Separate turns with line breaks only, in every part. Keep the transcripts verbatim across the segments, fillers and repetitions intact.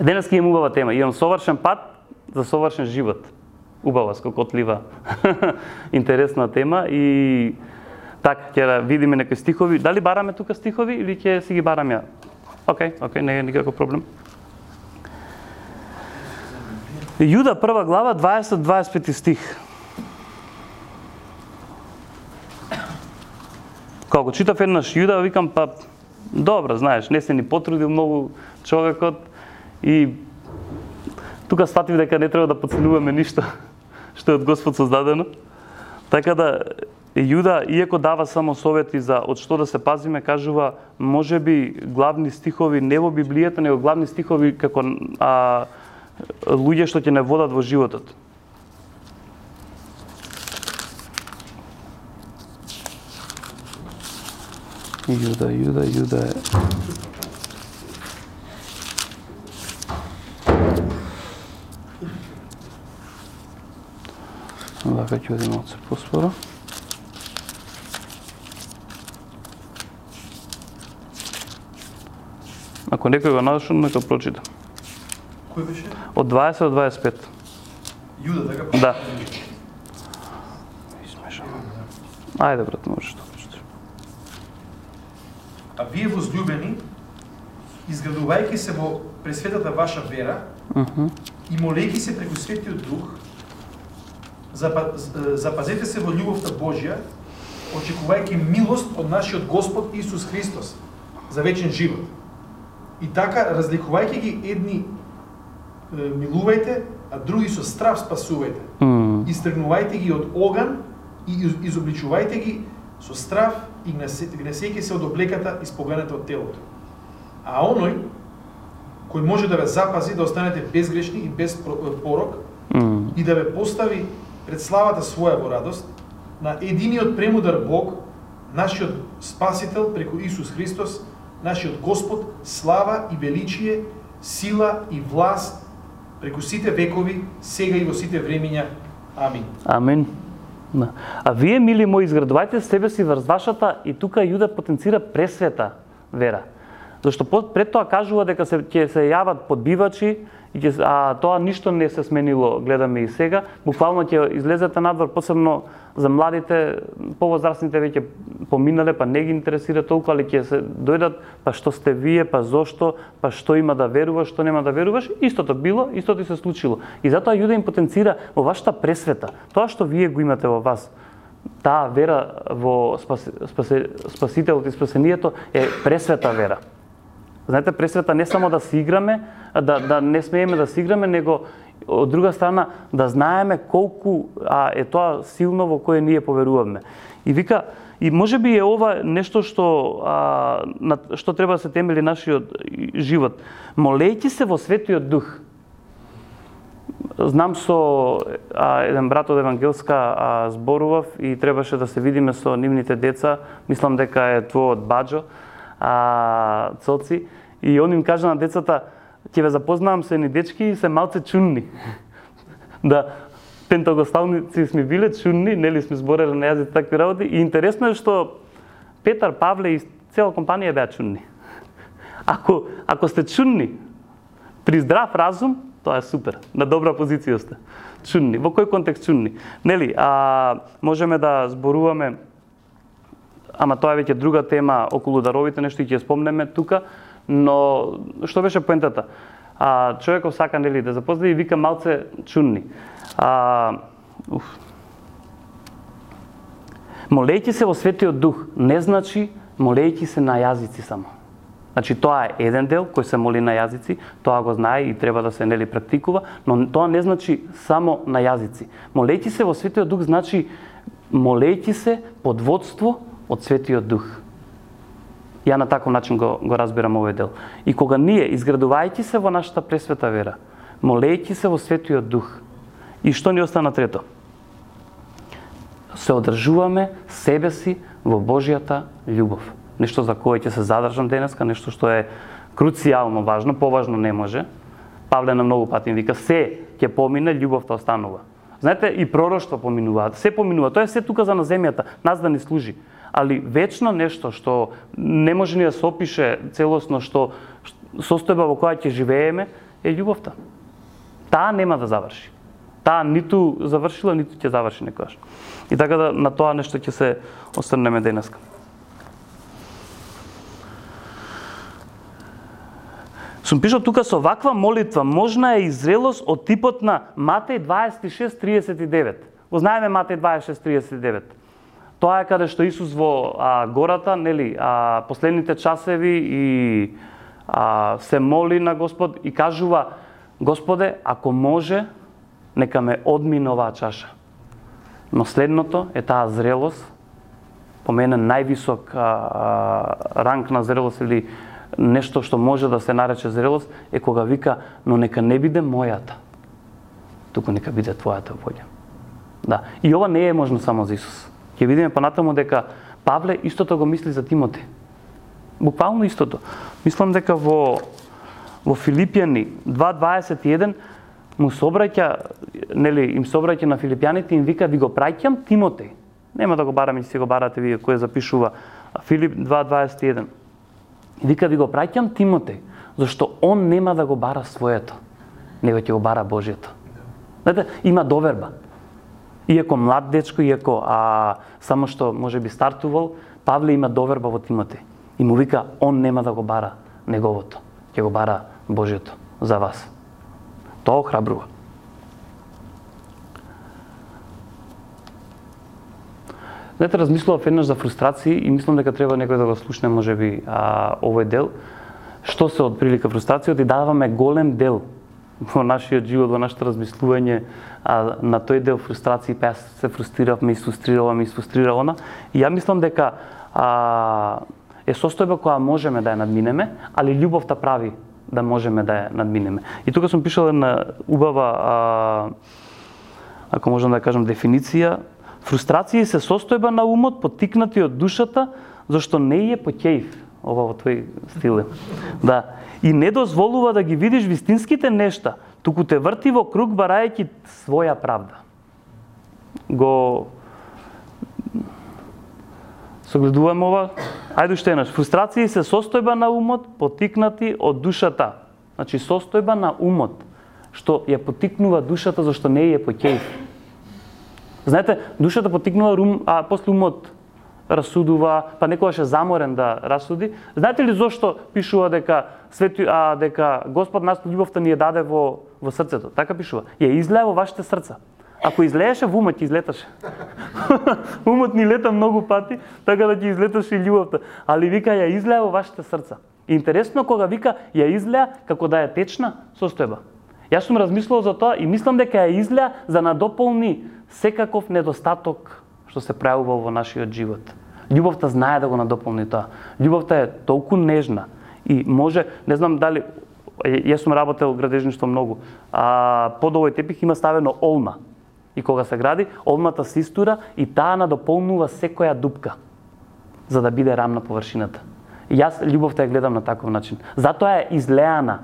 Денеска имам убава тема. Имам совршен пат за совршен живот. Убава, скокотлива, интересна тема и така ќе видиме некои стихови. Дали бараме тука стихови или ќе си ги барам ја? Океј, океј, не е никаков проблем. Јуда прва глава дваесет до дваесет и пети стих. Кога читав еднаш Јуда, викам па добро, знаеш, не се ни потрудил многу човекот и тука статив дека не треба да подценуваме ништо што е од Господ создадено. Така да Јуда, иако дава само совети за од што да се пазиме, кажува можеби главни стихови не во Библијата, него главни стихови како а, луѓе што ќе не водат во животот. Јуда, Јуда, Јуда е... Вака ќе одиме од се поспоро. Ако некој го нашол, нека прочита.
Кој беше?
Од дваесет до дваесет и пет.
Јуда, така?
Да. Измешам. Ајде, брат, можеш да прочиташ.
А вие возлюбени, изградувајќи се во пресветата ваша вера,
uh -huh.
и молејќи се преку Светиот Дух, запазете се во љубовта Божја, очекувајќи милост од нашиот Господ Исус Христос за вечен живот. И така, разликувајќи ги едни милувајте, а други со страв спасувајте.
Mm.
Истргнувајте ги од оган и изобличувајте ги со страв и гнесејќи се од облеката испоганета од телото. А оној кој може да ве запази да останете безгрешни и без порок
mm.
и да ве постави пред славата своја во радост, на единиот премудар Бог, нашиот Спасител преку Исус Христос, нашиот Господ, слава и величие, сила и власт преку сите векови, сега и во сите времиња. Амин.
Амин. Да. А вие, мили мои, изградувајте себе си врз вашата, и тука Јуда потенцира пресвета вера. Зашто пред тоа кажува дека се ќе се јават подбивачи, и ќе, а тоа ништо не се сменило, гледаме и сега. Буквално ќе излезете надвор, посебно за младите, повозрастните веќе поминале, па не ги интересира толку, али ќе се дојдат, па што сте вие, па зошто, па што има да веруваш, што нема да веруваш. Истото било, истото и се случило. И затоа Јуда им потенцира во вашата пресвета, тоа што вие го имате во вас. Таа вера во спас, спасе, Спасителот и спасението е пресвета вера. Знаете, пресвета не само да си играме, да, да не смееме да си играме, него од друга страна да знаеме колку а, е тоа силно во кое ние поверуваме. И вика, и можеби е ова нешто што а, на што треба да се темели нашиот живот. Молејќи се во Светиот Дух. Знам со а, еден брат од Евангелска а, зборував и требаше да се видиме со нивните деца. Мислам дека е твојот баџо, а, Цоци, и он им кажа на децата: ќе ве запознавам со едни дечки и се малце чунни. Да, пентагосталници сме биле чунни, нели сме збореле на јазици такви работи, и интересно е што Петар, Павле и цела компанија беа чунни. Ако ако сте чунни при здрав разум, тоа е супер, на добра позиција сте. Чунни, во кој контекст чунни? Нели, а можеме да зборуваме, ама тоа е веќе друга тема околу даровите, нешто ќе спомнеме тука, но што беше поентата? А, човеков сака, нели, да запозна и вика малце чунни. А, уф. Молејќи се во Светиот Дух не значи молејќи се на јазици само. Значи тоа е еден дел кој се моли на јазици, тоа го знае и треба да се, нели, практикува, но тоа не значи само на јазици. Молејќи се во Светиот Дух значи молејќи се под водство од Светиот Дух. Ја на таков начин го, го разбирам овој дел. И кога ние, изградувајќи се во нашата пресвета вера, молејќи се во Светиот Дух, и што ни остана трето? Се одржуваме себе си во Божјата љубов. Нешто за кое ќе се задржам денеска, нешто што е круцијално важно, поважно не може. Павле на многу пати вика: се ќе помине, љубовта останува. Знаете, и пророштва поминуваат, се поминува. Тоа е се тука за на земјата, нас да ни служи. Али вечно нешто што не може ни да се опише целосно, што состојба во која ќе живееме, е љубовта. Таа нема да заврши. Таа ниту завршила, ниту ќе заврши некогаш. И така да на тоа нешто ќе се осврнеме денеска. Сум пишал тука со ваква молитва можна е и зрелост од типот на Матеј дваесет и шест триесет и девет. Го знаеме Матеј дваесет и шест тридесет и девет. Тоа е каде што Исус во а, гората, нели, а, последните часеви и а, се моли на Господ и кажува: Господе, ако може, нека ме одмине оваа чаша. Но следното е таа зрелост, по мене највисок а, а, ранг на зрелост или нешто што може да се нарече зрелост, е кога вика: но нека не биде мојата, туку нека биде твојата волја. Да, и ова не е можно само за Исус. Ќе видиме понатаму дека Павле истото го мисли за Тимоте. Буквално истото. Мислам дека во во Филипјани два дваесет и еден му собраќа, нели, им собраќа на филипјаните и им вика: ви го праќам Тимотеј. Нема да го бараме, ќе си го барате вие кој запишува Филип два дваесет и еден. Вика: ви го праќам Тимотеј, зашто он нема да го бара своето, него ќе го бара Божјето. Знаете, има доверба. Иако млад дечко, иако а, само што може би стартувал, Павле има доверба во Тимотеј. И му вика: он нема да го бара неговото, ќе го бара Божјето за вас. Тоа охрабрува. Знаете, размислував еднаш за фрустрации и мислам дека треба некој да го слушне можеби а, овој дел. Што се од прилика фрустрацијата, и даваме голем дел во нашиот живот, во нашето размислување а, на тој дел фрустрации, па јас се фрустрирав, ме изфрустрирала, ме изфрустрира она. И ја мислам дека а, е состојба која можеме да ја надминеме, али љубовта прави да можеме да ја надминеме. И тука сум пишал една убава, а, ако можам да кажам, дефиниција. Фрустрација се состојба на умот поттикнати од душата, зашто не е поќеив. Ова во твој стил. Да. И не дозволува да ги видиш вистинските нешта, туку те врти во круг барајќи своја правда. Го согледуваме ова. Ајде уште еднаш. Фрустрација се состојба на умот поттикнати од душата. Значи состојба на умот што ја поттикнува душата зашто не е поќеив. Знаете, душата поттикнува ум, а после умот расудува, па некогаш е заморен да расуди. Знаете ли зошто пишува дека свети, а дека Господ нас љубовта ни ја даде во во срцето? Така пишува. Ја излеа во вашите срца. Ако излееше во умот, ќе излеташе. Умот ни лета многу пати, така да ќе излеташе и љубовта. Али вика ја излеа во вашите срца. Интересно кога вика ја излеа како да е течна состојба. Јас сум размислувал за тоа и мислам дека ја излеа за надополни секаков недостаток што се пројавувал во нашиот живот. Љубовта знае да го надополни тоа. Љубовта е толку нежна и може, не знам дали, јас сум работел градежништво многу, а под овој тепих има ставено олма. И кога се гради, олмата се истура и таа надополнува секоја дупка, за да биде рамна површината. И јас љубовта ја гледам на таков начин. Затоа е излеана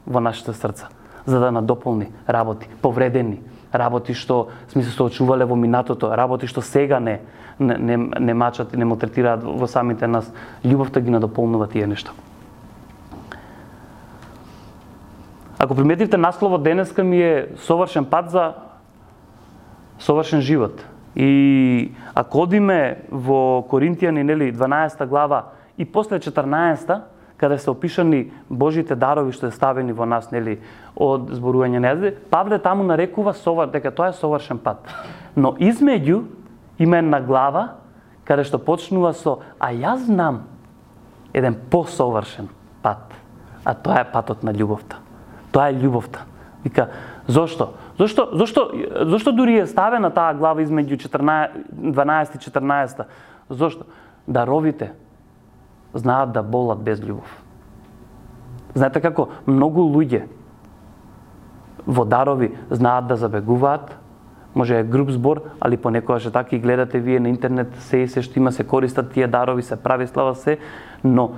во нашите срца, за да надополни работи, повредени, работи што сме се соочувале во минатото, работи што сега не не, не, не мачат и не малтретираат во самите нас. Љубовта ги надополнува тие нешта. Ако приметивте, насловот денеска ми е совршен пат за совршен живот. И ако одиме во Коринтијани, нели, дванаесета глава и после четрнаесета, каде се опишани Божите дарови што е ставени во нас, нели, од зборување на јазици, Павле таму нарекува совар, дека тоа е совршен пат. Но измеѓу има една глава каде што почнува со: а јас знам еден посовршен пат, а тоа е патот на љубовта. Тоа е љубовта. Вика, зошто? Зошто, зошто, зошто дури е ставена таа глава измеѓу дванаесета и четрнаесета? Зошто? Даровите знаат да болат без љубов. Знаете како многу луѓе во дарови знаат да забегуваат, може е груп збор, али понекогаш е така и гледате вие на интернет, се и се што има, се користат тие дарови, се прави слава се, но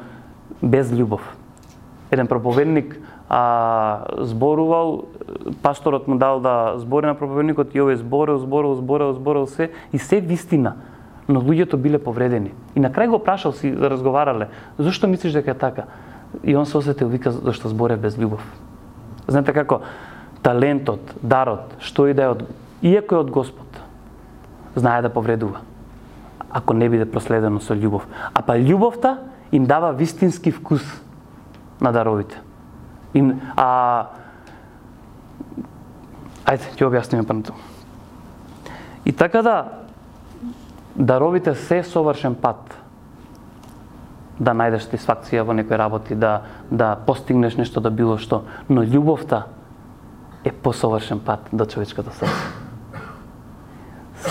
без љубов. Еден проповедник а, зборувал, пасторот му дал да збори на проповедникот и овој зборел, зборел, зборел, зборел се и се вистина, но луѓето биле повредени. И на крај го прашал, си разговарале: зошто мислиш дека е така? И он се осетил, вика, зашто зборев без љубов. Знаете како талентот, дарот, што и да е од иако е од Господ, знае да повредува. Ако не биде проследено со љубов. А па љубовта им дава вистински вкус на даровите. Им, а ајде, ќе објасниме па на тоа. И така да даровите се совршен пат да најдеш сатисфакција во некои работи, да да постигнеш нешто, да било што, но љубовта е посовршен пат до човечкото срце.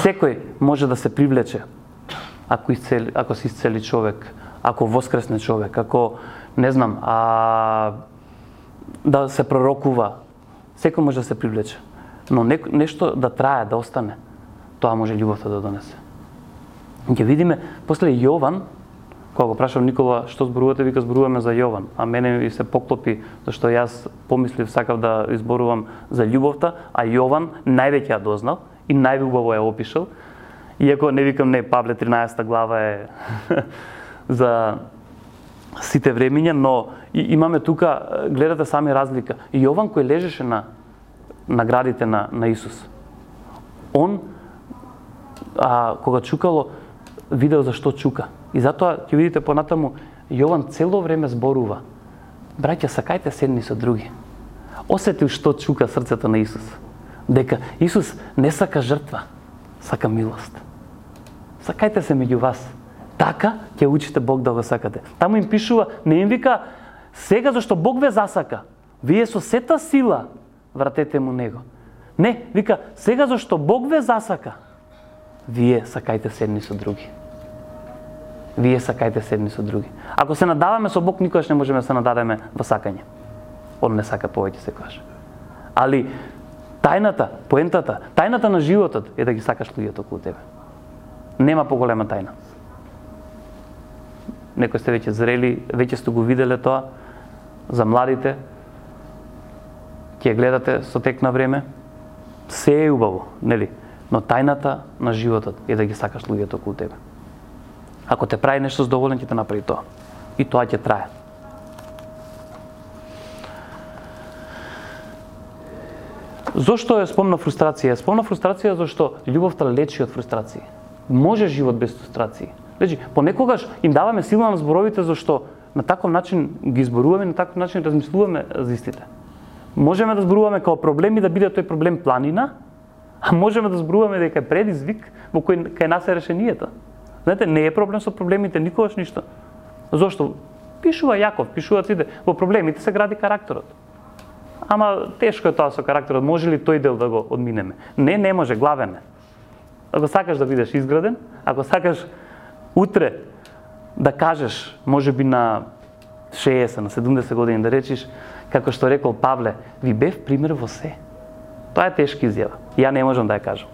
Секој може да се привлече ако исцели, ако се исцели човек, ако воскресне човек, ако не знам, а да се пророкува, секој може да се привлече. Но не, нешто да трае, да остане, тоа може љубовта да донесе. Ќе видиме после Јован, кога го прашав Никола што зборувате, вика зборуваме за Јован, а мене ми се поклопи зашто јас помислив сакав да изборувам за љубовта, а Јован највеќе ја дознал и најубаво ја опишал. Иако не викам не, Павле тринаесета глава е за сите времиња, но имаме тука, гледате сами разлика. Јован кој лежеше на наградите на, на Исус, он, а, кога чукало, видел зашто чука. И затоа, ќе видите понатаму, Јован цело време зборува. Браќа, сакајте се едни со други. Осетил што чука срцето на Исус. Дека Исус не сака жртва, сака милост. Сакајте се меѓу вас. Така ќе учите Бог да го сакате. Таму им пишува, не им вика, сега зашто Бог ве засака, вие со сета сила вратете му Него. Не, вика, сега зашто Бог ве засака, вие сакајте се едни со други. Вие сакајте се едни со други. Ако се надаваме со Бог, никогаш не можеме да се нададеме во сакање. Он не сака повеќе секогаш. Али тајната, поентата, тајната на животот е да ги сакаш луѓето околу тебе. Нема поголема тајна. Некои сте веќе зрели, веќе сте го виделе тоа, за младите, ќе гледате со тек на време, се е убаво, нели? Но тајната на животот е да ги сакаш луѓето околу тебе. Ако те прави нешто задоволен, ќе те направи тоа. И тоа ќе трае. Зошто е спомна фрустрација? Спомна фрустрација зашто љубовта лечи од фрустрации. Може живот без фрустрации. Значи, понекогаш им даваме сила на зборовите зашто на таков начин ги зборуваме, на таков начин размислуваме за истите. Можеме да зборуваме како проблем и да биде тој проблем планина, а можеме да зборуваме дека е предизвик во кој кај нас е решението. Знаете, не е проблем со проблемите никогаш ништо. Зошто? Пишува Јаков, пишуваат сите, во проблемите се гради карактерот. Ама тешко е тоа со карактерот, може ли тој дел да го одминеме? Не, не може, главен е. Ако сакаш да бидеш изграден, ако сакаш утре да кажеш, може би на шеесет, на седумдесет години да речиш, како што рекол Павле, ви бев пример во се. Тоа е тешка изјава. Ја не можам да ја кажам.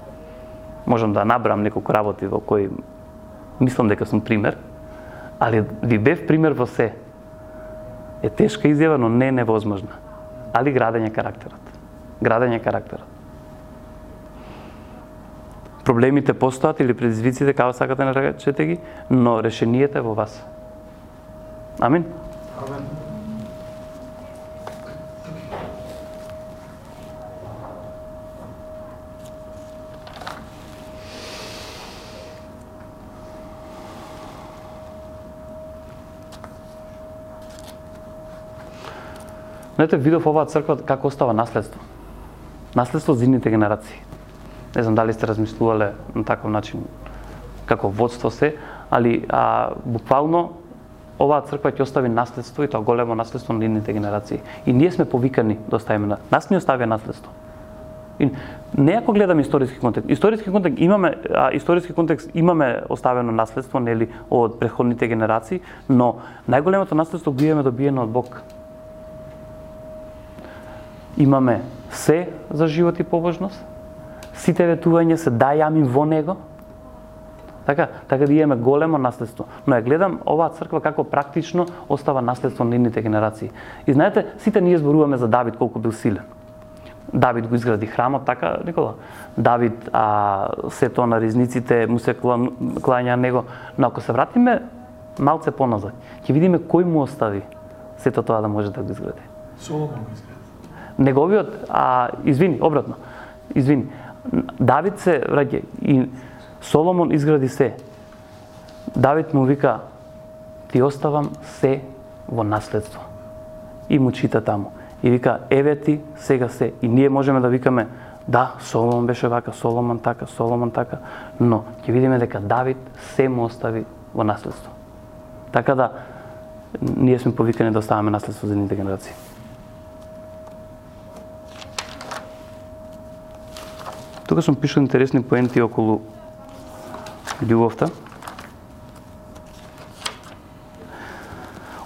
Можам да набрам неколку работи во кои мислам дека сум пример, али ви бев пример во се. Е тешка изјава, но не невозможна. Али градење карактерот. Градење карактерот. Проблемите постојат или предизвиците, како сакате наречете ги, но решението е во вас. Амин.
Амен.
Знаете, видов оваа црква како остава наследство. Наследство за идните генерации. Не знам дали сте размислувале на таков начин како водство се, али а, буквално оваа црква ќе остави наследство, и тоа големо наследство на идните генерации. И ние сме повикани да оставиме на нас ни оставија наследство. И не ако гледаме историски контекст. Историски контекст имаме, а, историски контекст имаме оставено наследство, нели, од претходните генерации, но најголемото наследство го имаме добиено од Бог. Имаме се за живот и побожност, сите ветувања се дајами во него. Така, така да имаме големо наследство. Но ја гледам оваа црква како практично остава наследство на идните генерации. И знаете, сите ние зборуваме за Давид колку бил силен. Давид го изгради храмот, така, Никола? Давид, а, сето на ризниците му се клања него. Но ако се вратиме малце поназад, ќе видиме кој му остави сето тоа да може да го изгради.
Соломон го изгради.
Неговиот, а извини, обратно. Извини. Давид се враќа и Соломон изгради се. Давид му вика: ти оставам се во наследство. И му чита таму. И вика: еве ти сега се. И ние можеме да викаме: да, Соломон беше вака, Соломон така, Соломон така, но ќе видиме дека Давид се му остави во наследство. Така да, ние сме повикани да оставаме наследство за едните генерации. Тука сум пишал интересни поенти околу љубовта.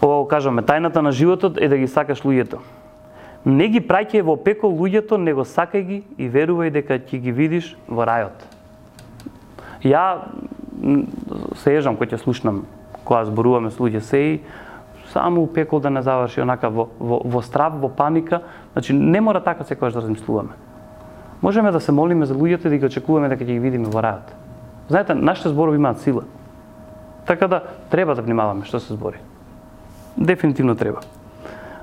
Ова го кажаме: тајната на животот е да ги сакаш луѓето. Не ги праќај во пекол луѓето, него сакај ги и верувај дека ќе ги видиш во рајот. Ја се ежам кога ќе слушнам, кога зборуваме со луѓе сеи, само у пекол да не заврши онака во, во, во страв, во паника. Значи, не мора така секогаш да размислуваме. Можеме да се молиме за луѓето и да ги очекуваме дека ќе ги видиме во рајот. Знаете, нашите зборови имаат сила. Така да треба да внимаваме што се збори. Дефинитивно треба.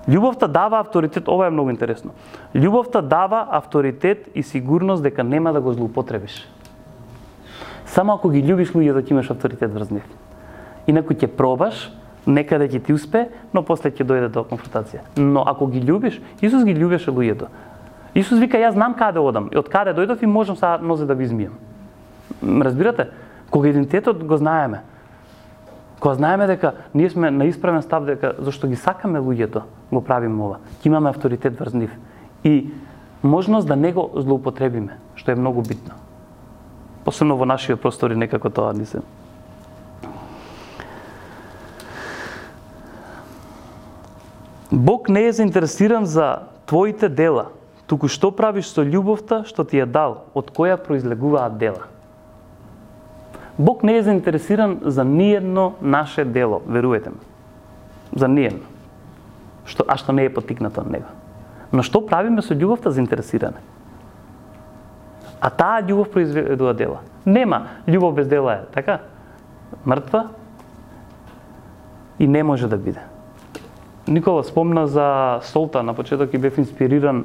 Љубовта дава авторитет, ова е многу интересно. Љубовта дава авторитет и сигурност дека нема да го злоупотребиш. Само ако ги љубиш луѓето, ќе имаш авторитет врз нив. Инаку ќе пробаш, некаде ќе ти успе, но после ќе дојде до конфронтација. Но ако ги љубиш, Исус ги љубеше луѓето. Исус вика: јас знам каде одам и од каде дојдов и можам сега нозе да ви измијам. Разбирате? Кога идентитетот го знаеме, кога знаеме дека ние сме на исправен став, дека зашто ги сакаме луѓето, го правиме ова. Ќе имаме авторитет врз нив и можност да не го злоупотребиме, што е многу битно. Посебно во нашиот простори некако тоа ни се. Бог не е заинтересиран за твоите дела, туку што правиш со љубовта што ти е дал, од која произлегуваат дела. Бог не е заинтересиран за ниедно наше дело, веруете ме. За ниедно. Што, а што не е поттикнато од него. Но што правиме со љубовта заинтересиране? А таа љубов произведува дела. Нема љубов без дела е, така? Мртва и не може да биде. Никола спомна за солта, на почеток и бев инспириран.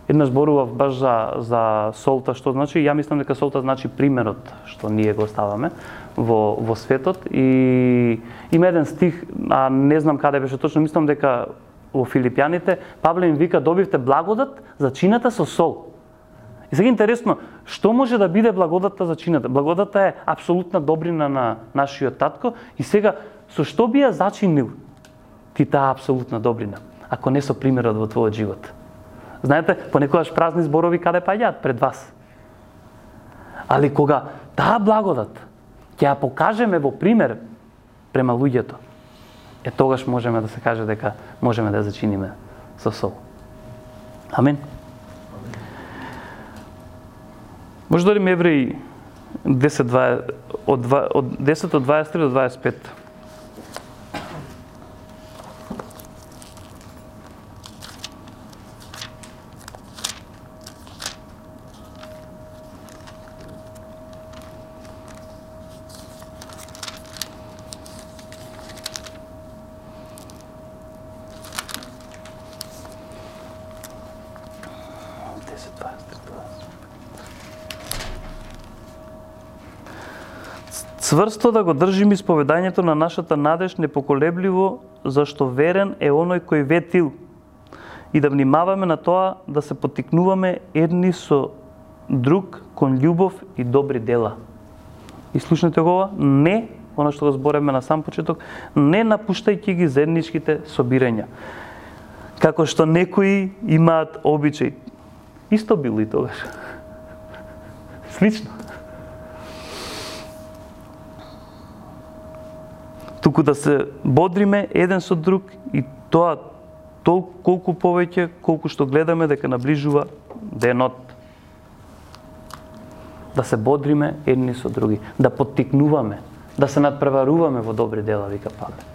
Еднаш зборував баш за, за солта, што значи, ја мислам дека солта значи примерот што ние го ставаме во, во светот. И има еден стих, а не знам каде беше точно, мислам дека во Филипјаните, Павле им вика: добивте благодат за чината со сол. И сега интересно, што може да биде благодатта за чината? Благодатта е апсолутна добрина на нашиот татко и сега со што би ја зачинил ти таа апсолутна добрина, ако не со примерот во твојот живот? Знаете, понекогаш празни зборови каде паѓаат пред вас. Али кога таа благодат ќе ја покажеме во пример према луѓето, е тогаш можеме да се каже дека можеме да ја зачиниме со сол. Амин. Може да дадеме Евреи десет од десет од дваесет и три до дваесет и пет. Цврсто да го држиме исповедањето на нашата надеж непоколебливо, зашто верен е оној кој ветил, и да внимаваме на тоа да се поттикнуваме едни со друг кон љубов и добри дела. И слушнете го ова, не, оно што го збореме на сам почеток, не напуштајќи ги заедничките собирања. Како што некои имаат обичај. Исто било и тогаш. Слично. Туку да се бодриме еден со друг и тоа толку колку повеќе колку што гледаме дека наближува денот. Да се бодриме едни со други, да поттикнуваме, да се надпреваруваме во добри дела, вика Павле.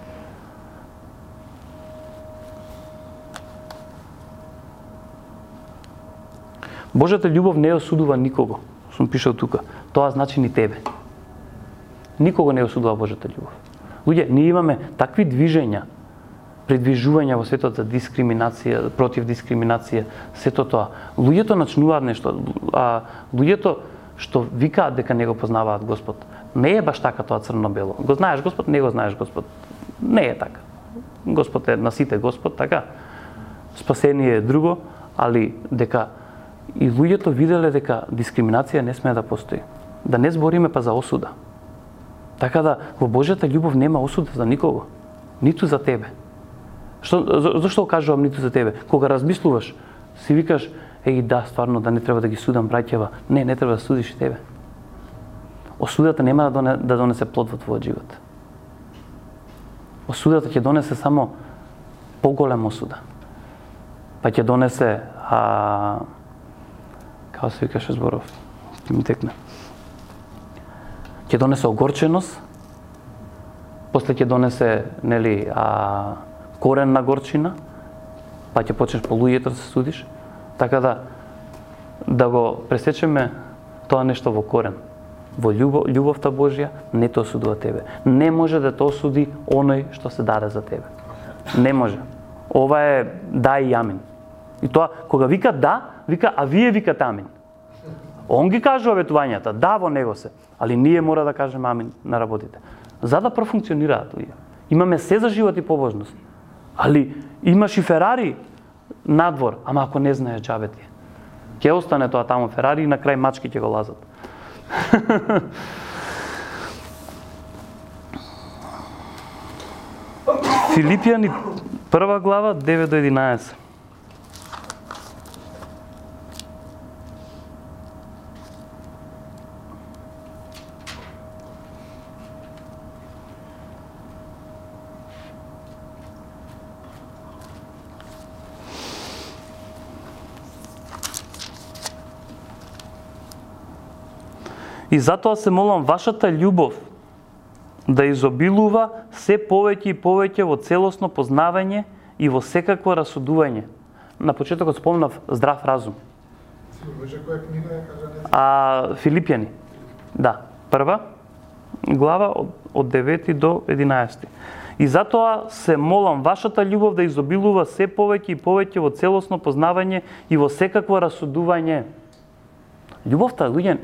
Божјата љубов не осудува никого. Сум пишал тука. Тоа значи ни тебе. Никого не осудува Божјата љубов. Луѓе, ние имаме такви движења предвижување во светот за дискриминација, против дискриминација, сето тоа. Луѓето начнуваат нешто, а луѓето што викаат дека не го познаваат Господ. Не е баш така тоа црно-бело. Го знаеш Господ, не го знаеш Господ. Не е така. Господ е на сите Господ, така. Спасение е друго, али дека и луѓето виделе дека дискриминација не смее да постои. Да не збориме па за осуда. Така да во Божјата љубов нема осуда за никого, ниту за тебе. Што зашто кажувам ниту за тебе? Кога размислуваш, си викаш, еј да, стварно да не треба да ги судам браќева. Не, не треба да судиш и тебе. Осудата нема да, доне, да донесе плод во твојот живот. Осудата ќе донесе само поголема осуда. Па ќе донесе, а, како се викаше зборов, ќе ми текне. Ќе донесе огорченост, после ќе донесе, нели, а, корен на горчина, па ќе почнеш по луѓето да се судиш, така да да го пресечеме тоа нешто во корен. Во љубов, љубовта Божја не те осудува тебе. Не може да те осуди оној што се даде за тебе. Не може. Ова е да и амин. И тоа, кога вика да, вика, а вие викате амин. Он ги кажува ветувањата, да во него се, али ние мора да кажеме амин на работите. За да профункционираат луѓе. Имаме се за живот и побожност. Али имаш и Ферари надвор, ама ако не знаеш џабе ти. Ќе остане тоа таму Ферари и на крај мачки ќе го лазат. Филипјани прва глава девет до единаесет. И затоа се молам вашата љубов да изобилува се повеќе и повеќе во целосно познавање и во секакво расудување. На почетокот спомнав здрав разум. А Филипјани. Да, прва глава од, од девети до единаесети. И затоа се молам вашата љубов да изобилува се повеќе и повеќе во целосно познавање и во секакво расудување. Љубовта, луѓе,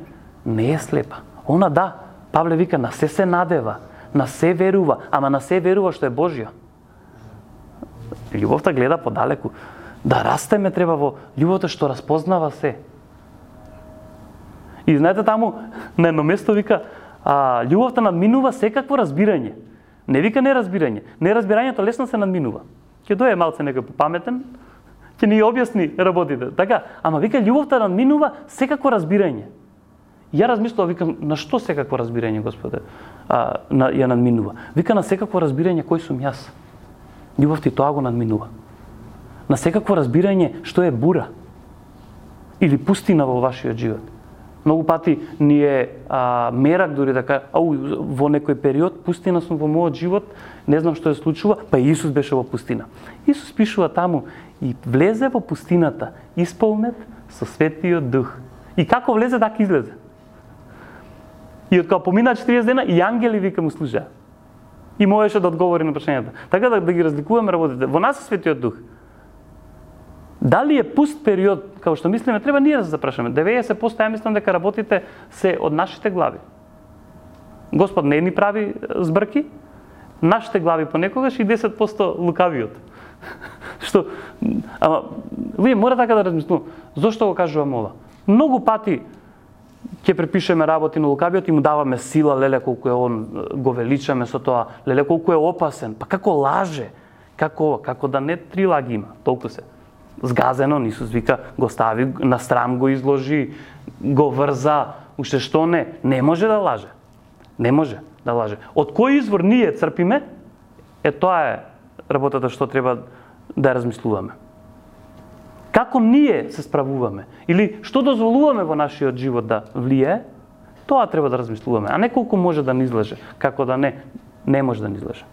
не е слепа. Она да, Павле вика, на се се надева, на се верува, ама на се верува што е Божја. Љубовта гледа подалеку. Да растеме треба во љубовта што распознава се. И знаете таму, на едно место вика, а, љубовта надминува секакво разбирање. Не вика неразбирање. Неразбирањето лесно се надминува. Ќе дое малце некој попаметен, ќе ни објасни работите. Така, ама вика љубовта надминува секакво разбирање. Ја размислував, викам, на што секакво разбирање, Господе, а, на, ја надминува? Вика, на секакво разбирање кој сум јас. Љубовта и тоа го надминува. На секакво разбирање што е бура или пустина во вашиот живот. Многу пати ни е а, мерак, дури да кажа, ау, во некој период пустина сум во мојот живот, не знам што се случува, па Исус беше во пустина. Исус пишува таму, и влезе во пустината, исполнет со Светиот Дух. И како влезе, така излезе. И од кога помина четириесет дена, и ангели вика му служаа. И можеше да одговори на прашањата. Така да, да ги разликуваме работите. Во нас е Светиот Дух. Дали е пуст период, како што мислиме, треба ние да се запрашаме. деветдесет проценти ја мислам дека работите се од нашите глави. Господ не ни прави збрки, нашите глави понекогаш и десет проценти лукавиот. Што, ама, вие мора така да размислуваме. Зошто го кажувам ова? Многу пати ќе препишеме работи на лукавиот и му даваме сила, леле колку е он, го величаме со тоа, леле колку е опасен, па како лаже, како како да не три лаги има, толку се. Згазено, Исус вика, го стави на страм, го изложи, го врза, уште што не, не може да лаже. Не може да лаже. Од кој извор ние црпиме, е тоа е работата што треба да размислуваме. Како ние се справуваме или што дозволуваме во нашиот живот да влие, тоа треба да размислуваме, а не колку може да ни излеже, како да не, не може да ни излеже.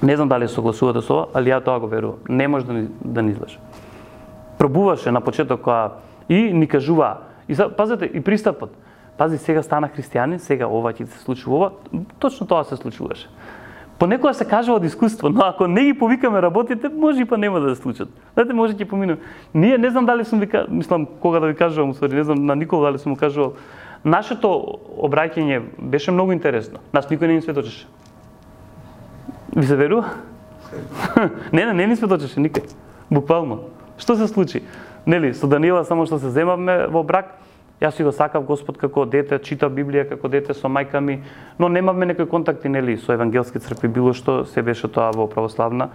Не знам дали согласувате со ова, али ја тоа го верувам. Не може да ни, да ни излеже. Пробуваше на почеток која и ни кажува, и пазете и пристапот. Пази, сега стана христијанин, сега ова ќе се случува ова, точно тоа се случуваше. Понекогаш се кажува од искуство, но ако не ги повикаме работите, може и па нема да се случат. Знаете, може ќе поминем. Ние не знам дали сум ви, мислам кога да ви кажувам, усвари, не знам на никога дали сум му кажувал. Нашето обраќање беше многу интересно. Нас никој не ни сведочеше. Ви се верува? не, не, не ни сведочеше никој. Буквално. Што се случи? Нели, со Даниела само што се земавме во брак, јас си го сакав Господ како дете, читав Библија како дете со мајка ми, но немавме некои контакти, нели, со евангелски цркви, било што, се беше тоа во православна,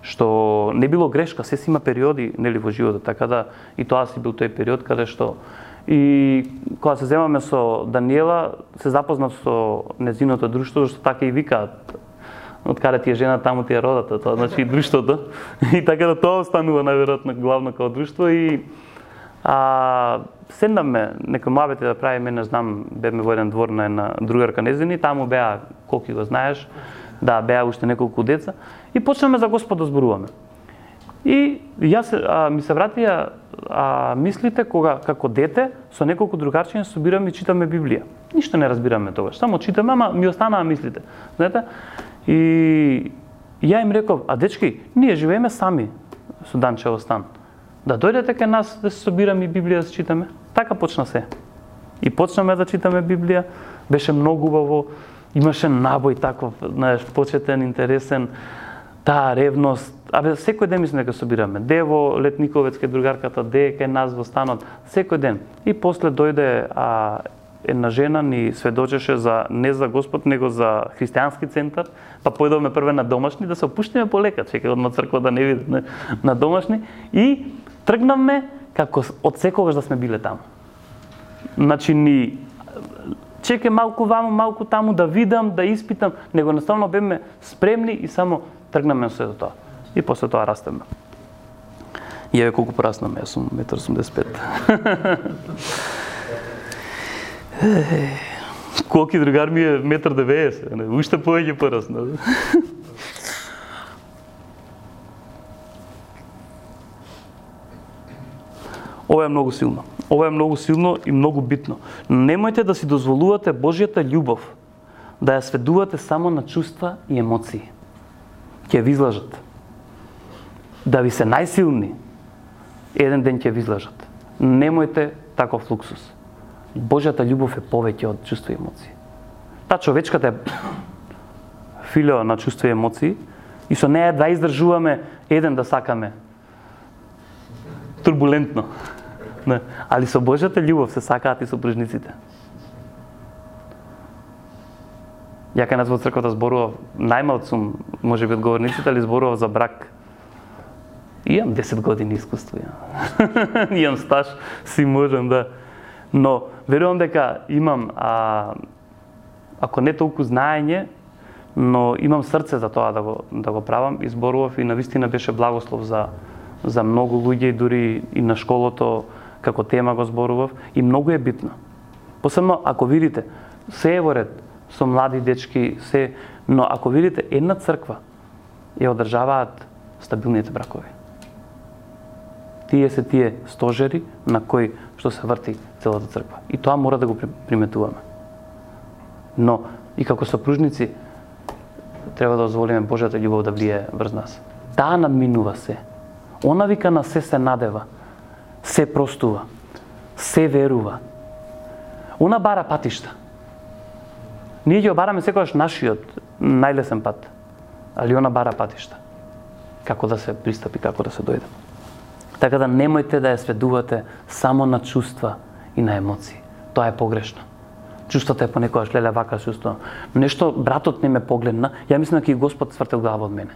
што не било грешка, се си има периоди, нели, во животот, така да и тоа си бил тој период каде што и кога се земаме со Даниела, се запознав со незиното друштво, што така и викаат, од каде ти е жена, таму ти е родата, тоа значи и друштвото. И така да тоа останува најверојатно главно како друштво и а, седнавме некои муабети да правиме, не знам, бевме во еден двор на една другарка незини, таму беа, колку го знаеш, да, беа уште неколку деца и почнеме за Господ да зборуваме. И јас а, ми се вратија а, мислите кога како дете со неколку другарчиња собираме и читаме Библија. Ништо не разбираме тогаш, само читаме, ама ми останаа мислите. Знаете? И ја им реков, а дечки, ние живееме сами со Данчево стан. Да дојдете кај нас да се собираме и Библија да се читаме. Така почна се. И почнаме да читаме Библија, беше многу убаво, имаше набој таков, знаеш, почетен, интересен, таа ревност. Абе, секој ден мислам дека собираме. Де во Летниковец кај другарката, де кај нас во станот, секој ден. И после дојде а, една жена ни сведочеше за не за Господ, него за христијански центар, па појдовме прве на домашни да се опуштиме полека, чекај од црква да не видиме на домашни и тргнавме како од секогаш да сме биле таму. Значи ни чекај малку ваму, малку таму да видам, да испитам, него наставно беме спремни и само тргнаме со тоа. И после тоа растеме. И еве колку пораснаме, јас сум еден осумдесет и пет. Колки другар ми е еден деветдесет, уште повеќе порасна. Ова е многу силно. Ова е многу силно и многу битно. Немојте да си дозволувате Божјата љубов да ја сведувате само на чувства и емоции. Ќе ви излажат. Да ви се најсилни, еден ден ќе ви излажат. Немојте таков луксус. Божјата љубов е повеќе од чувства и емоции. Та човечката е филио на чувства и емоции и со неја да издржуваме еден да сакаме турбулентно. Не. Али со Божјата љубов се сакаат и сопружниците. Ја кај нас во црквата зборував, најмалку сум, можеби од говорниците, али зборував за брак. Имам десет години искуство, ја. Имам стаж, си можам да. Но верувам дека имам, а, ако не толку знаење, но имам срце за тоа да го да го правам и зборував и навистина беше благослов за за многу луѓе, дури и на школото како тема го зборував и многу е битно. Посебно ако видите се е во ред со млади дечки, се, но ако видите една црква ја одржаваат стабилните бракови. Тие се тие стожери на кои што се врти целата црква. И тоа мора да го приметуваме. Но и како сопружници треба да дозволиме Божјата љубов да влие врз нас. Таа надминува се. Она вика на се се надева, се простува, се верува. Она бара патишта. Ние ќе бараме секогаш нашиот најлесен пат, али она бара патишта. Како да се пристапи, како да се дојде. Така да немојте да ја сведувате само на чувства и на емоции. Тоа е погрешно. Чувствата е понекогаш леле вака чувство. Нешто братот не ме погледна, ја мислам дека и Господ свртел глава од мене.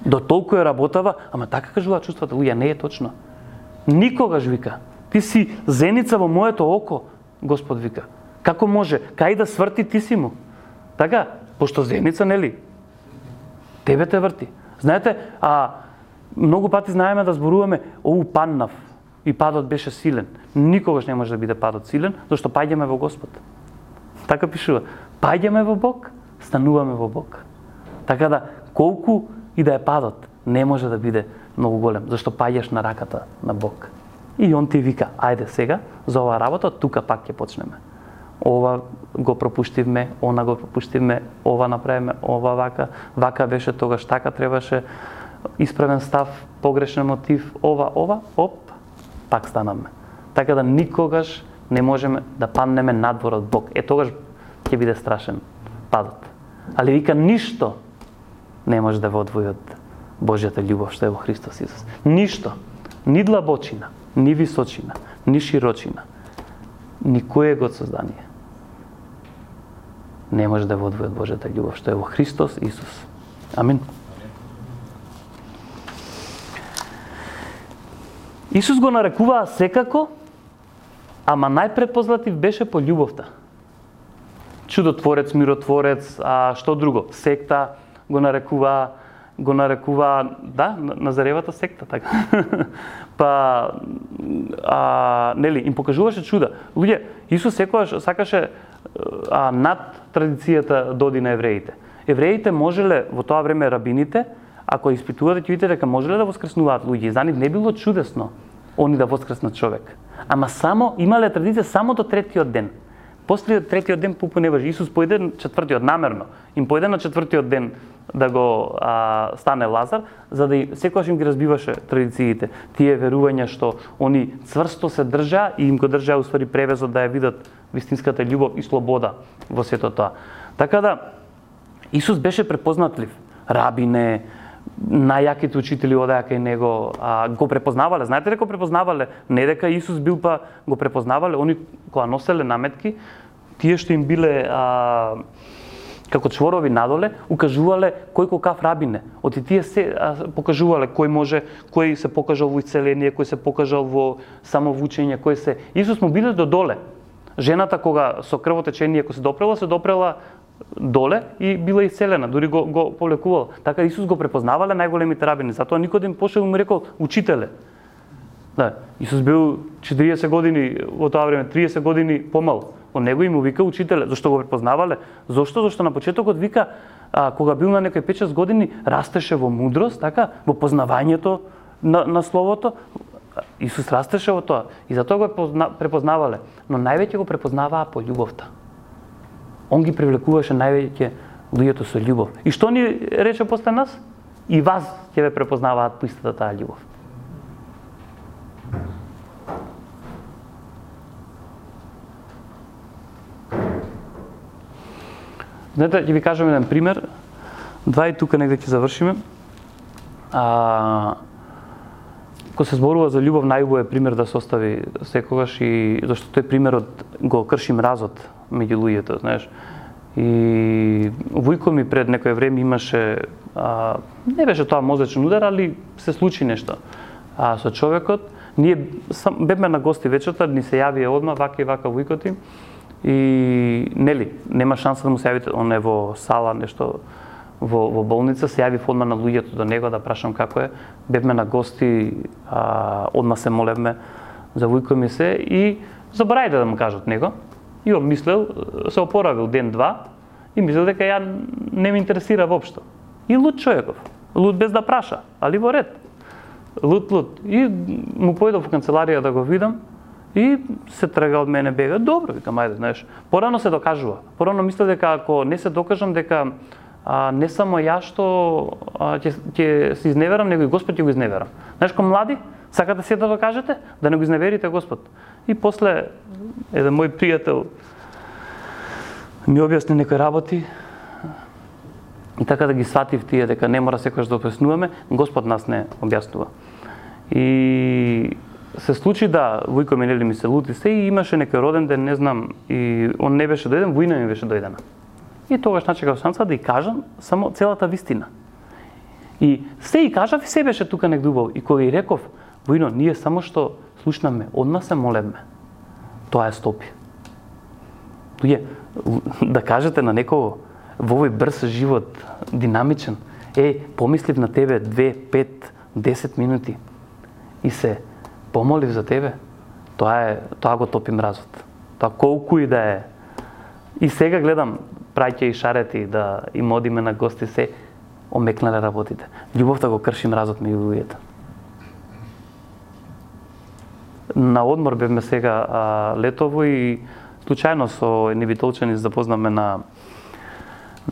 До толку е работава, ама така кажува чувствата, луѓе, не е точно. Никогаш вика, ти си зеница во моето око, Господ вика. Како може? Кај да сврти ти си му? Така, пошто зеница, нели? Тебе те врти. Знаете, а многу пати знаеме да зборуваме, оу паднав и падот беше силен. Никогаш не може да биде падот силен, зашто паѓаме во Господ. Така пишува. Паѓаме во Бог, стануваме во Бог. Така да, колку и да е падот, не може да биде многу голем, зашто паѓаш на раката на Бог. И он ти вика, ајде сега, за оваа работа, тука пак ќе почнеме. ова го пропуштивме, она го пропуштивме, ова направиме, ова вака, вака беше тогаш, така требаше, исправен став, погрешен мотив, ова, ова, оп, пак станаме. Така да никогаш не можеме да паднеме надвор од Бог. Е, тогаш ќе биде страшен падот. Али вика, ништо не може да ве одвои од Божјата љубов што е во Христос Исус. Ништо. Ни длабочина, ни височина, ни широчина, ни кое го создание не може да ве одвои од Божјата љубов што е во Христос Исус. Амин. Исус го нарекуваа секако, ама најпрепознатлив беше по љубовта. Чудотворец, миротворец, а што друго? Секта го нарекуваа, го нарекуваа, да, Назаревата секта, така. Па, а, нели, им покажуваше чуда. Луѓе, Исус секогаш сакаше а, над традицијата да оди на евреите. Евреите можеле, во тоа време рабините, ако испитувате, ќе видите дека можеле да воскреснуваат луѓе. За нив не било чудесно они да воскреснат човек. Ама само, имале традиција само до третиот ден. После третиот ден пупу не важи. Исус појде на четвртиот, намерно. Им појде на четвртиот ден да го а, стане Лазар, за да секогаш им ги разбиваше традициите. Тие верувања што они цврсто се држаа и им го држаа уствари превезот да ја видат вистинската љубов и слобода во сето тоа. Така да, Исус беше препознатлив. Рабине, најаките учители одеа кај него, а, го препознавале. Знаете дека го препознавале? Не дека Исус бил, па го препознавале. Они кога носеле наметки, тие што им биле а, како чворови надоле, укажувале кој какав рабине. Оти тие се а, покажувале кој може, кој се покажал во исцеление, кој се покажал во самовучење, кој се... Исус му биле до доле. Жената кога со крвотечение кога се допрела, се допрела доле и била исцелена, дури го, го полекувал. Така Исус го препознавале најголемите рабини, затоа Никодим пошел и му рекол, учителе. Да, Исус бил четириесет години во тоа време, триесет години помал. Од него и му вика учителе. Зошто го препознавале? Зошто? Зошто на почетокот вика, а, кога бил на некои пет-шест години, растеше во мудрост, така, во познавањето на, на словото. Исус растеше во тоа и затоа го препознавале, но највеќе го препознаваа по љубовта. Он ги привлекуваше највеќе луѓето со љубов. И што ни рече после нас? И вас ќе ве препознаваат по истата таа љубов. Знаете, ќе ви кажам еден пример. Два и тука негде ќе завршиме. А, Кога се зборува за љубов, најубаво е пример да се остави секогаш и зашто тој примерот го крши мразот меѓу луѓето, знаеш. И војко ми пред некое време имаше, а, не беше тоа мозечен удар, али се случи нешто а, со човекот. Ние сам, бевме на гости вечерта, ни се јавија одма, вака и вака војкот им. И нели, нема шанса да му се јавите, он е во сала, нешто во, во болница, се јавив одма на луѓето до него да прашам како е. Бевме на гости, а, одма се молевме за војко ми се и заборајте да му кажат него. И он мислел, се опоравил ден-два и мислел дека ја не ме интересира воопшто. И луд човеков, луд без да праша, али во ред. Луд, луд. И му појдов во канцеларија да го видам и се трга од мене, бега. Добро, викам, ајде, знаеш. Порано се докажува. Порано мислел дека ако не се докажам дека а, не само ја што ќе ќе се изневерам, него и Господ ќе го изневерам. Знаеш, ко млади, сакате се да докажете, да не го изневерите Господ. И после еден мој пријател ми објасни некои работи и така да ги сватив тие дека не мора секогаш да објаснуваме, Господ нас не објаснува. И се случи да војко ми нели ми се лути се и имаше некој роден ден, не знам, и он не беше дојден, војна ми беше дојдена. И тогаш начекав шанса да и кажам само целата вистина. И се и кажав и се беше тука негде убаво. И кога и реков, војно, ние само што слушнаме, одма се молевме. Тоа е стопи. Луѓе, да кажете на некого во овој брз живот, динамичен, е, помислив на тебе две, пет, десет минути и се помолив за тебе, тоа е, тоа го топи мразот. Тоа колку и да е. И сега гледам праќа и шарети да им одиме на гости, се омекнале работите. Љубовта го крши мразот меѓу луѓето. На одмор бевме сега а, летово и случајно со едни битолчани запознаме на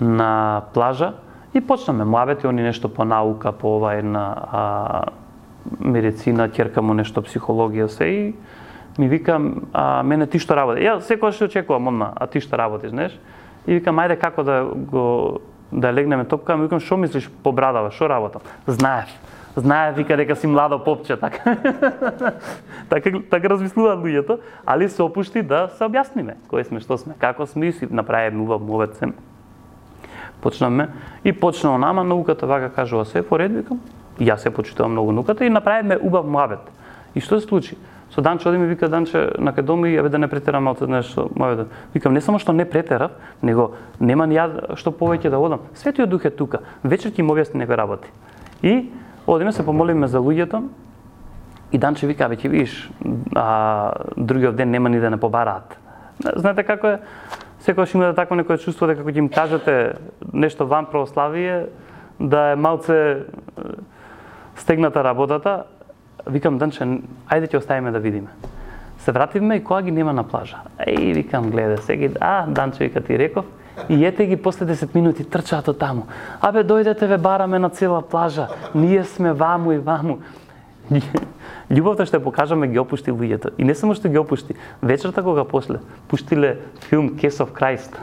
на плажа и почнаме муабети, они нешто по наука, по ова една а, медицина, ќерка му нешто психологија се и ми вика, а, мене ти што работи? Ја секогаш се очекувам одма, а ти што работиш, знаеш? И викам, ајде како да го да легнеме топка, ми викам, што мислиш по брадава, што работам? Знаев. Знаев, вика, дека си младо попче, така. така, така размислуваат луѓето, али се опушти да се објасниме кои сме, што сме, како сме и си направиме убав мовет се. Почнаме и почнаа нама науката, вака кажува се, по ред, викам, и јас се почитувам многу науката и направиме убав мовет. И што се случи? Со Данче оди ми вика, Данче, на кај дома и абе да не претерам малку нешто мовет. Викам, не само што не претерав, него нема ни ја што повеќе да одам. Светиот Дух е тука, вечер ќе му објасни некои работи. И одиме се помолиме за луѓето и Данче вика, абе ќе видиш, а, другиот ден нема ни да не побараат. Знаете како е? Секогаш има да такво некој чувство дека кога ќе им кажете нешто ван православие, да е малце стегната работата. Викам, Данче, ајде ќе оставиме да видиме. Се вративме и кога ги нема на плажа. Еј, викам, гледа, сега, а, Данче, вика, ти реков, и ете ги после десет минути трчаат од таму. Абе, дојдете, ве бараме на цела плажа, ние сме ваму и ваму. Љубовта што ја покажаме ги опушти луѓето. И не само што ги опушти, вечерта кога после пуштиле филм Case of Christ.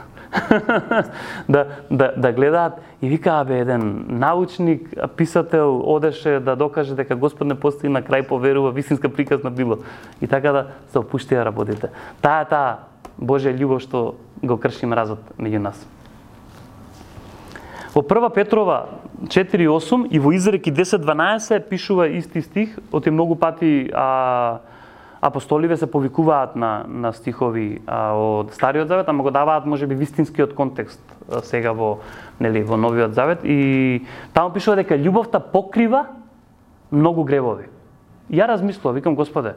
да, да, да гледаат и вика, абе, еден научник, писател одеше да докаже дека Господ не постои, на крај поверува, вистинска приказна било. И така да се опуштија работите. Таа е таа Божја љубов што го крши мразот меѓу нас. Во прва Петрова четири осум и во Изреки десет дванаесет пишува исти стих, оти многу пати а, апостоливе се повикуваат на, на стихови а, од Стариот Завет, ама го даваат можеби вистинскиот контекст а, сега во, нели, во Новиот Завет и таму пишува дека љубовта покрива многу гревови. Ја размислував, викам, Господе,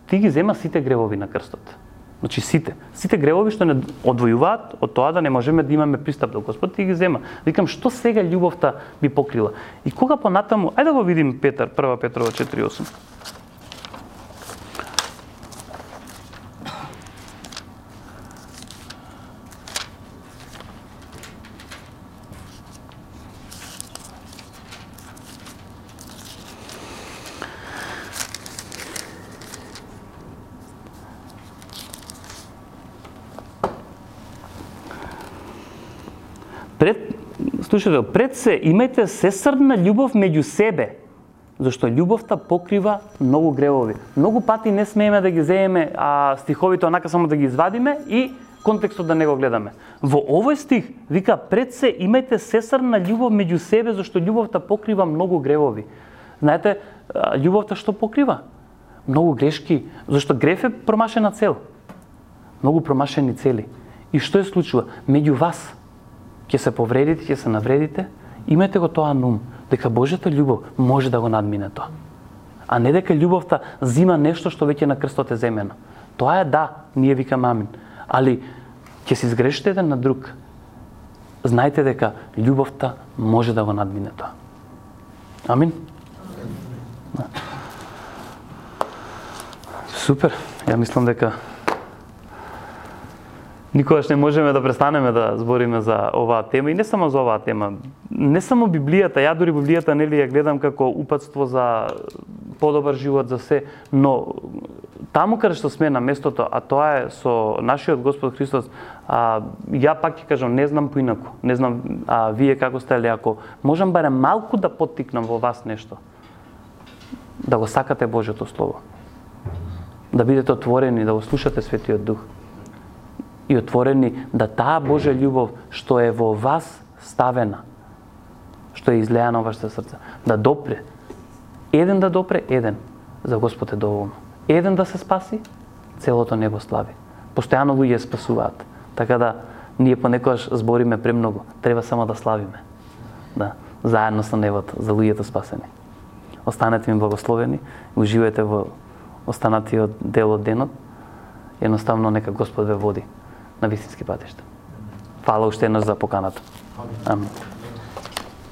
ти ги зема сите гревови на крстот. Значи сите, сите гревови што не одвојуваат од тоа да не можеме да имаме пристап до Господ, ти ги зема. Викам, што сега љубовта би покрила? И кога понатаму, ајде да го видим Петар, прва Петрова четири осум. Пред, слушате, пред се имајте сесрдна љубов меѓу себе, зашто љубовта покрива многу гревови. Многу пати не смееме да ги земеме а, стиховите онака само да ги извадиме и контекстот да не го гледаме. Во овој стих вика, пред се имајте сесрдна љубов меѓу себе, зашто љубовта покрива многу гревови. Знаете, љубовта што покрива? Многу грешки, зашто грев е промашена цел. Многу промашени цели. И што е случува? Меѓу вас ќе се повредите, ќе се навредите, имајте го тоа на ум, дека Божјата љубов може да го надмине тоа. А не дека љубовта зима нешто што веќе на крстот е земено. Тоа е да, ние викаме амин. Али ќе се изгрешите еден на друг. Знајте дека љубовта може да го надмине тоа. Амин. Да. Супер. Ја мислам дека никогаш не можеме да престанеме да збориме за оваа тема и не само за оваа тема. Не само Библијата, ја дури Библијата нели ја гледам како упатство за подобар живот за се, но таму каде што сме на местото, а тоа е со нашиот Господ Христос, а, ја пак ќе кажам, не знам поинаку, не знам а, вие како сте, али ако можам барем малку да поттикнам во вас нешто, да го сакате Божјото Слово, да бидете отворени, да го слушате Светиот Дух, и отворени да таа Божја љубов што е во вас ставена, што е излеана во вашето срце, да допре. Еден да допре, еден за Господ е доволно. Еден да се спаси, целото небо слави. Постојано луѓе спасуваат. Така да ние понекогаш збориме премногу, треба само да славиме. Да, заедно со небото за луѓето спасени. Останете ми благословени, уживајте во останатиот дел од денот. Едноставно нека Господ ве води на вистински патишта. Фала уште еднаш за поканата. Амин.